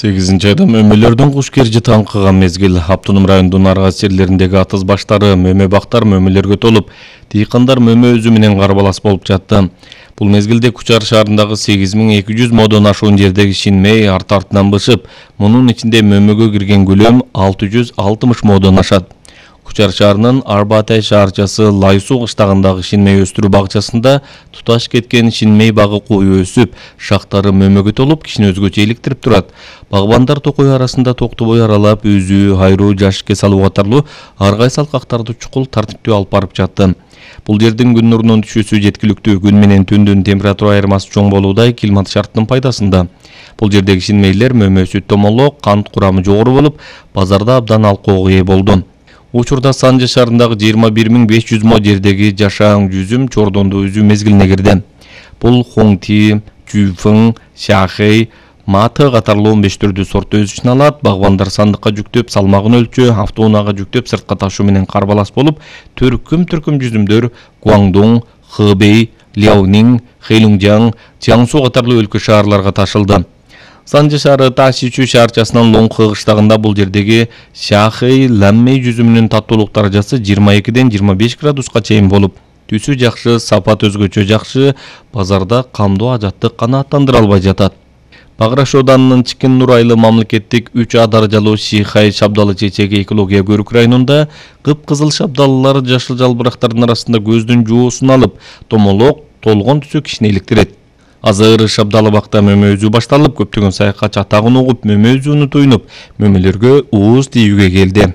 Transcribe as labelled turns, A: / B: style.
A: 8 айда мөмөлөрдүн куш кержи таңкыган мезгил. Автоном районунун аргас жерлериндеги атыз баштары, мөмө бактар мөмөлөргө толуп, дыйкандар мөмө өзү менен карбалас болуп жатты. Бул мезгилде Кучар шаарындагы 8200 модон ашуун жердеги Шинмей арт-артынан бышып, мунун ичинде мөмөгө кирген көлөм 660 модон ашат. Кучар шаарынын Арбатай шаарчасы Лайсуу кыштагындагы Шинмей өстүрүү багчасында туташ кеткен Шинмей багы кою өсүп, шактары мөмөгө толуп, кишини өзгөчө иликтирип турат. Багбандар токой арасында токтобой аралап, өзү, хайруу, жашикке салуу катарлуу ар кайсы алкактарды чукул тартиптүү алып барып жатты. Бул жердин күн нурунун түшүүсү жеткиликтүү, күн менен түндүн температура айырмасы чоң болуудай климат шартынын пайдасында. Бул жердеги Шинмейлер мөмөсү томолок, кант курамы жогору болуп, базарда абдан алкоого ээ болду. Учурда Санжы шаарындагы 21500 мо жердеги жашаан жүзүм, чордондуу үзүү мезгилине кирди. Бул Хуңти, Жуфың, Шахей, Маты катарлуу 15 түрдүү сорт өсүшүн алат. Багбандар сандыкка жүктөп, салмагын өлчөө, автоунаага жүктөп, сыртка ташуу менен карбалас болуп, төркүм жүзүмдөр Гуаңдун, Хэбэй, Ляонин, Хэйлунжан, Чаңсу катарлуу өлкө шаарларга ташылды. Санжы шаары Ташичу шаарчасынын Лоңхы кыштагында бул жердеги Шахей Ламмей жүзүмүнүн таттуулук даражасы 22ден 25 градуска чейин болуп, түсү жакшы, сапат өзгөчө жакшы, базарда камдуу ажаттык канааттандыра албай жатат. Баграш Оданынын Чикин Нур айылы мамлекеттик 3А даражалуу Шихай шабдалы чечеги экология көрүк районунда кып-кызыл шабдалылар жашыл жалбырактардын арасында көздүн жоосун алып, томолок, толгон түсү кишини иликтирет. Азыр шабдалы бакта мөмө үзүү башталып, көптөгөн саякатчы атагын угуп, мөмө үзүүнү туйнуп, мөмөлөргө ууз тийүүгө келди.